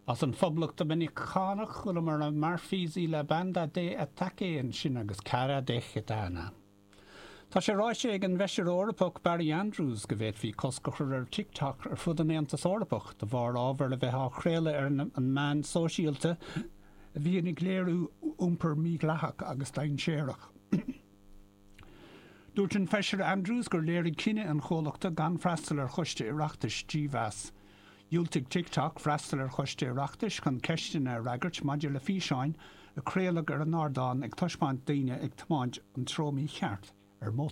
As an Phoblacht Doiminiceánach, chualamar Marfisi La Banda de Ataque ansin agus Cara de Gitana. Tá sé ráite ag an bhFeisire Eorpach Barry Andrews go bhféadfaí cosc a chur ar TikTok ar fud an Aontais Eorpaigh de bharr ábhar a bheith á chraoladh ar an meán sóisialta a bhíonn ag léiriú iompar mídhleathach agus dainséarach. Dúirt an Feisire Andrews gur léirigh cinneadh an chomhlachta gan freastal ar choiste Oireachtais dímheas. Dhiúltaigh TikTok freastal ar choiste Oireachtais chun ceisteanna a fhreagairt maidir le físeáin a craoladh ar an ardán ag taispeáint daoine ag tiomáint an treo mícheart ar mótar.